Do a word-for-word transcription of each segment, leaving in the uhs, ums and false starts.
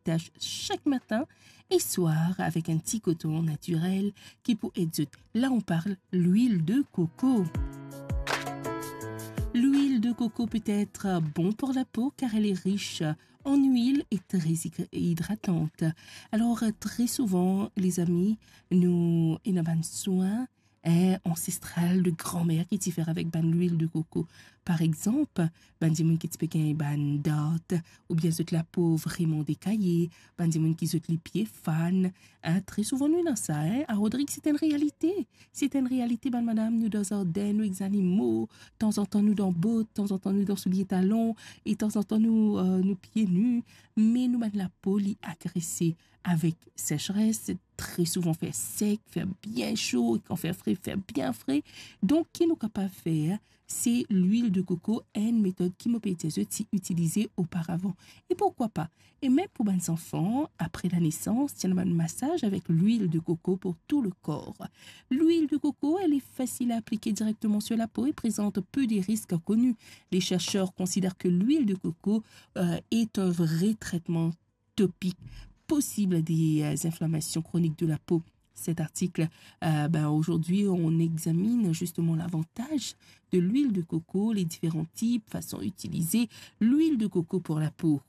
tas sak matin e swar avek enn ti koton natirel ki pou ed zot. La, on parl lwil de koko. Lwil de koko peut être bon pour la peau car elle est riche en huile et très hydratante. Alors, très souvent, les amis, nou ena bann swin, eh, ansestral de granmer ki ti fer avek bann lwil de koko. Par exanp, bann dimoun ki ti pe gagn bann dart, oubien zot lapo vreman dekaye, bann dimoun ki zot lipie fann, eh, tre souvan nou ena sa, eh. A Rodrig, se enn realite. Se enn realite, bann madam, nou dan zarden, nou ek zanimo, tanzantan nou dan bot, tanzantan nou dan soulie talon, e tanzantan nou, eh, nou pie ni, me nou bann lapo, li agrese avek secheres, tre souvan fer sek, fer bien so, e kan fer fre, fer bien fre. Donk, ki nou kapav fer, se lwil de koko, enn metod ki mo pe dir zot ti itilize oparavan. E pourkwa pa? E mem pou bann zanfan, apre lanesans, ti ena bann masaz avek lwil de koko pour tout le corps. L'huile de coco, elle est facile à appliquer directement sur la peau et présente peu de risques connus. Les chercheurs considèrent que l'huile de coco, euh, est un vrai traitement topique possible des, euh, inflammations chroniques de la peau. Cet article, euh, ben, aujourd'hui, on examine justement l'avantage de l'huile de coco, les différents types, façon d'utiliser l'huile de coco pour la peau.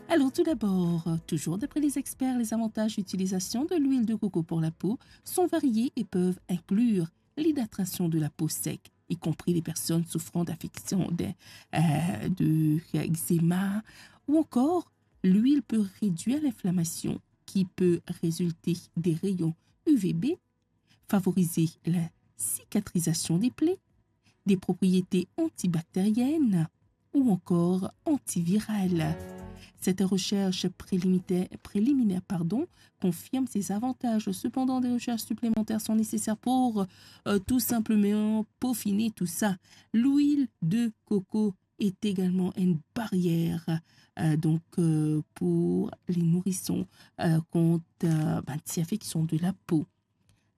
Alors, tout d'abord, toujours d'après les experts, les avantages d'utilisation de l'huile de coco pour la peau sont variés et peuvent inclure l'hydratation de la peau sec, y compris les personnes souffrant d'affections de, euh, de eczéma, ou encore l'huile peut réduire l'inflammation qui peut résulter des rayons U V B, favoriser la cicatrisation des plaies, des propriétés antibactériennes ou encore antivirales. Cette recherche préliminaire, préliminaire, pardon, confirme ces avantages. Cependant, des recherches supplémentaires sont nécessaires pour, euh, tout simplement peaufiner tout ça. L'huile de coco est également une barrière, euh, donc, euh, pour les nourrissons, euh, contre, euh, ben, des infections de la peau.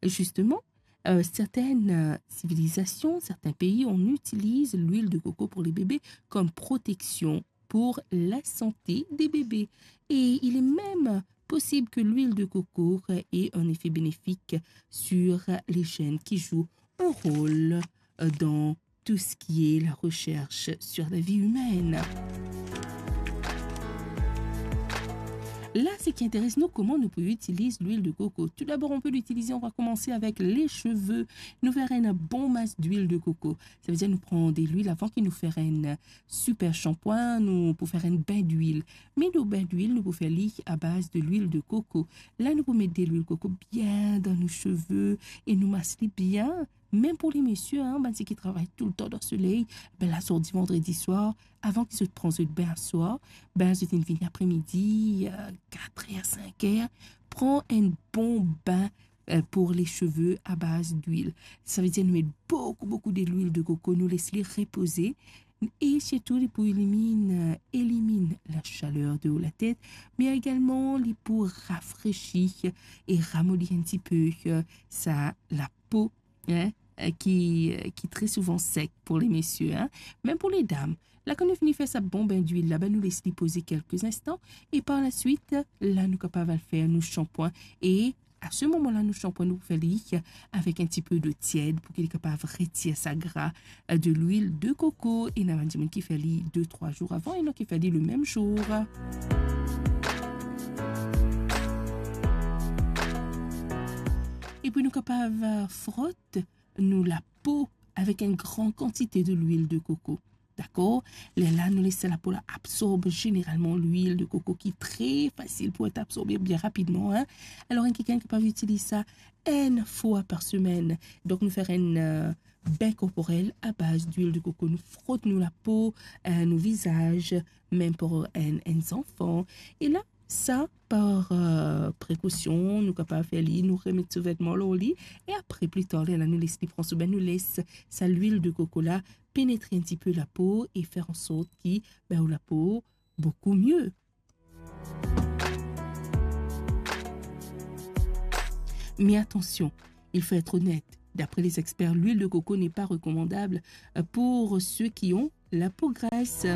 Justement, euh, certaines, euh, civilisations, certains pays, on utilise l'huile de coco pour les bébés comme protection pour la santé des bébés. Et il est même possible que l'huile de coco ait un effet bénéfique sur les gènes qui jouent un rôle, euh, dans tout ce qui est la recherche sur la vie humaine. La, seki interes nou, kouma nou pou itiliz lwil de koko. Tout d'abord, on peut l'utiliser, on va commencer avec les cheveux. Nou fer enn bon mas d'huile de coco. Savedir nou pran de lwil avan ki nou fer enn super shanpwin, nou pou fer enn bin d'huile. Me nou bin d'huile, nou pou fer li a baz de lwil de coco. La, nou pou met de lwil koko bien dan nou seve e nou mas li bien. Mem pou le mesie, hein, bann seki travay toultan dan soley, be la sorti vandredi swar, avan ki zot pran zot bin swar, be zot inn vini apremidi, euh, kat er, sink er, pran enn bon bin, euh, pour les cheveux à base d'huile. Savedir nou met boukou, boukou de lwil de koko, nou les li repoze, e sirtou li pou elimine, euh, elimine la chaleur de la tet, me egalman li pou rafresi e ramoli enn tipe, euh, sa lapo, hein, euh, ki, euh, ki tre souvan sek pou le mesie, hein. Mem pou le dam, la kan nou fini fer sa bon bin d'huile la, be nou les li poze kelke instan, e par la swit, la nou kapav al fer nou shanpwin, e a se moman la nou shanpwin nou fer li avek enn tipe dlo tied pou ki li kapav retir sa gra, euh, de lwil de koko. E ena bann dimoun ki fer li de, trwa zour avan, ena ki fer li le mem zour. E pou nou kapav, euh, frot nou lapo avek enn gran kantite de lwil de koko. Dakor? Lerla nou les sa lapo la absorb zeneralman lwil de koko ki tre fasil pou et absorbe bien rapidman, hein. Alor, enn kikenn kapav itiliz sa enn fwa par semenn. Donk, nou fer enn, euh, bin korporel a baz d'huile de coco. Nou frot nou lapo, euh, nou vizaz, mem pou enn, enn zanfan. E la, sa, par, euh, prekosion, nou kapav fer li, nou remet so vetman lor li, e apre, pli tar, lerla nou les li pran so bin, nou les sa lwil de koko la penetre enn tipe lapo e fer an sort ki, be, ou lapo boukou mie. Mais attention, il faut être honnête, d'après les experts, l'huile de coco n'est pas recommandable, euh, pour ceux qui ont la peau grasse.